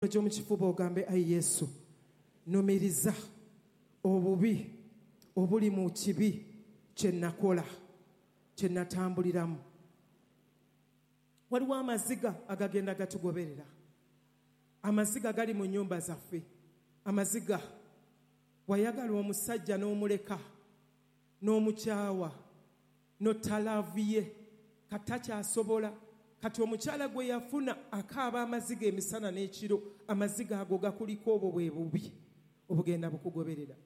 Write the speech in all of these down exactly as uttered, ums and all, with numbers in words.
Gy'omu kifuba ogambe, ayi Yesu, numiriza obubi obuli mu kibi kye nakola, kye natambuliramu. Waliwo amaziga agagenda gatugoberera. Amaziga gali mu nnyumba zaffe. Amaziga wayagala omusajja n'omuleka, n'omukyawa, n'otalaavu ye, katakyasobola. Kati omukyala gwe yafuna akaaba amaziga emisana n'ekiro. Amaziga ago gakuliko obwo bwe bubi obugenda bukugoberera.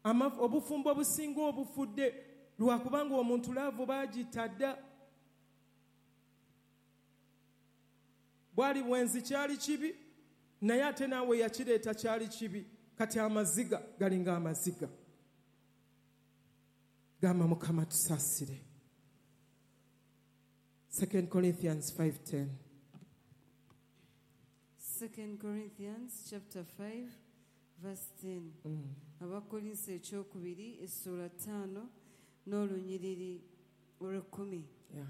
Obufumbo obusinga obufudde lwakubanga omuntu love baagitadda. Bwali bwenzi, kyali kibi, naye ate naawe yakireeta kyali kibi. Kati amaziga galinga amaziga. Gamba, Mukama tusaasire. Second Corinthians five ten. Second Corinthians chapter five verse ten. Mm. Abakolinso ekyokubiri essuula ttaano n'olunyiriri olw'ekkumi. Yeah.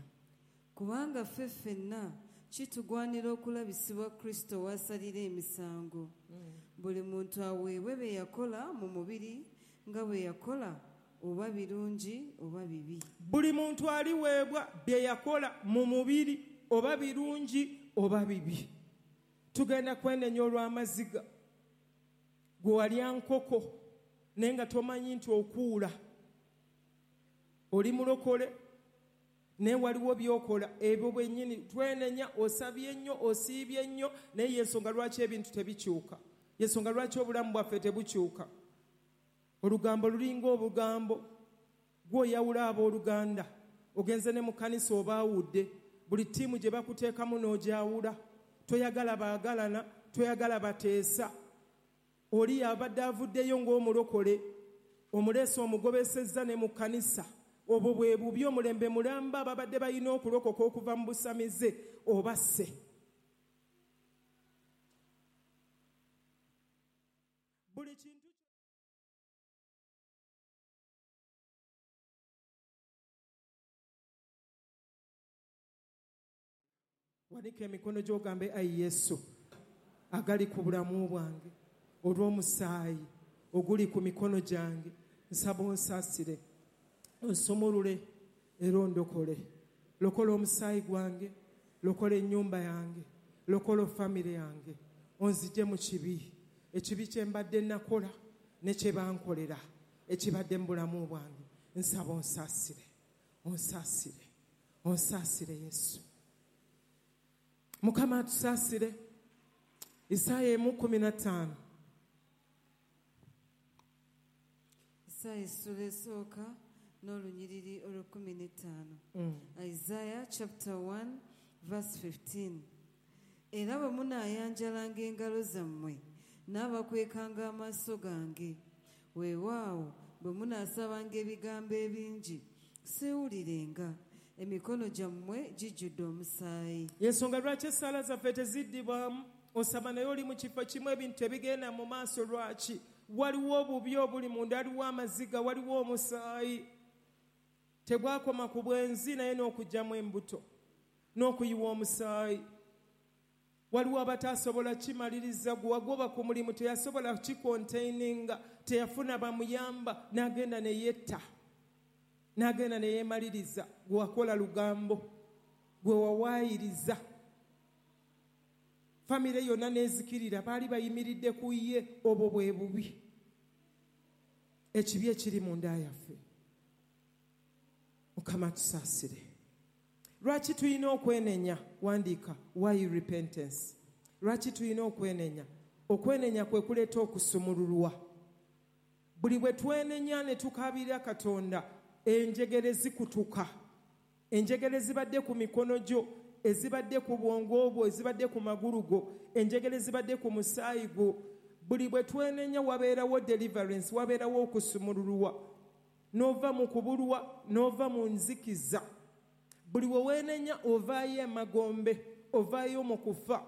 Kubanga ffe ffenna kitugwanira okulabisibwa Kristo w'asalira emisango. Buli muntu aweebwe bye yakola mu mubiri nga bwe yakola, oba birungi oba bibi. Buli muntu aliweebwa bye yakola mu mubiri, oba birungi oba bibi. Tugenda kwenenya olw'amaziga. Gwe walya nkoko naye nga tomanyi nti okuula oli mulokole, naye waliwo by'okola ebyo bwennyini. Twenenya, osabye nnyo, osiibye nnyo, naye yensonga lwaki ebintu tebikyuka, yensonga lwaki obulamu bwaffe tebukyuka. Olugambo lulinga obugambo. Gwoyawula abooluganda, ogenze ne mu kkanisa obaawudde. Buli ttiimu gye bakuteekamu n'ogyawula. Toyagala baagalana, toyagala bateesa. Oli abadde avuddeyo ng'omulokole, omuleese, omugobesezza ne mu kkanisa. Obwo bwe bubi. Omulembe mulamba babadde balina okulokoka okuva mu busamize, obasse. Buli kintu. Wanika emikono gy'ogambe, ayi Yesu, agali ku bulamu bwange, olw'omusaayi oguli ku mikono gyange, nsaba onsaasire, onsumulule era ondokole. Lokola omusaayi gwange, lokola ennyumba yange, lokola famire yange, onzigye mu kibi, ekibi kye mbadde nakola ne kye bankolera ekibadde mu bulamu bwange. Nsaba onsaasire, onsaasire, onsaasire Yesu. Mukama atusaasire. Isaaya emu kumi na ttaano. Isaaya essula esooka n'olunyiriri olw'ekkumi n'ettaano. Mm. Isaiah chapter one verse fifteen. Era bwe munaayanjalanga engalo zammwe, naabakwekanga amaaso gange. Weewaawo bwe munaasabanga ebigambo ebingi, seewulirenga. Emikono gyammwe gijjudde omusaayi. Yensonga lwaki essaala zaffe teziddibwamu. Osaba naye oli mu kifo kimu, ebintu tebigenda mu maaso. Lwaki? Waliwo obubi obuli munda, waliwo amaziga, waliwo omusaayi. Tegwakoma ku bwenzi, naye n'okuggyamu embuto n'okuyiwa omusaayi. Waliwo abataasobola kimaliriza. Gwe wagoba ku mulimu, teyasobola kikontaininga, teyafuna bamuyamba, n'agenda ne yetta, n'agenda ne yeemaliriza. Gwe wakola lugambo, gwe wawaayiriza, famire yonna n'ezikirira, baali bayimiridde ku ye. Obwo bwe bubi, ekibi ekiri munda yaffe. Mukama tusaasire. Lwaki tulina okwenenya? Wandiika, why repentance? Lwaki tulina okwenenya? Okwenenya kwe kuleeta okusumululwa. Buli bwe twenenya ne tukaabirira Katonda, enjegere zikutuka. Enjegere zibadde ku mikono gyo, ezibadde ku bwongo bwo, ezibadde ku magulu go, enjegere zibadde ku musaayi gwo. Buli bwe twenenya wabeerawo deliverance, wabeerawo okusumululwa, n'ova mu kubulwa, n'ova mu nzikiza. Buli we weenenya ovaayo emagombe, ovaayo mu kufa,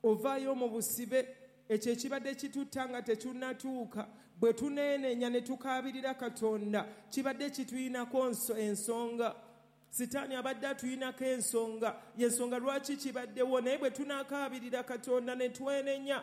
ovaayo mu busibe. Ekyo ekibadde kitutta nga tekinnatuuka, bwe tuneenenya ne tukaabirira Katonda, kibadde kituyinako ensonga. Sitaani abadde atuyinako ensonga, yensonga lwaki kibaddewo. Naye bwe tunaakaabirira Katonda ne twenenya.